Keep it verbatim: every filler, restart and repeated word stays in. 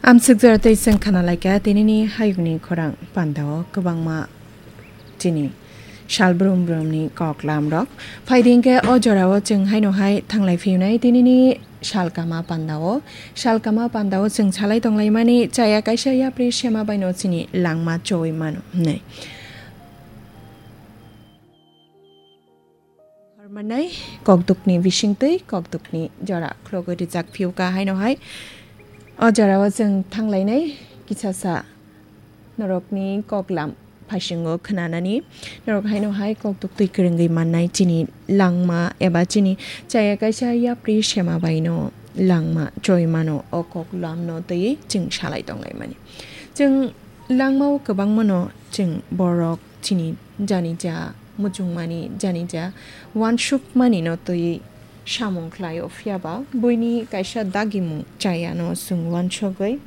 Amswk jora tei chwng khana laikha tinini hayungni khorang pandao kwbangma chini sal brum brumni kok lamrok. Phaidi hinkhe o jorao chwng haino hai thanglai phiyunai tinini salkama pandao. Salkama pandao chwng salai tonglaimani chaya kaisa yapri sema baino chini langma choi mano hwnwi. Hormannai kokdukni bisingtwi kokdukni jora khulogwi rijak phiyuka haino hai. O jorao chwng thanglainai kisasa norokni koklam phasingo khwnanani. Norok haino hai kokduktwi kwrwngwi mannai chini langma eba chini chaya kaisa yapri sema baino langma choi mano o koklamno twiwi chwng salai tonglaimani. Chwng langmao kwbangmano chwng borok chini janija muchungmani janija wansukmanino twiwi samung khlaio, phiyaba buini kaisa dagimung chayano chwng wansugwi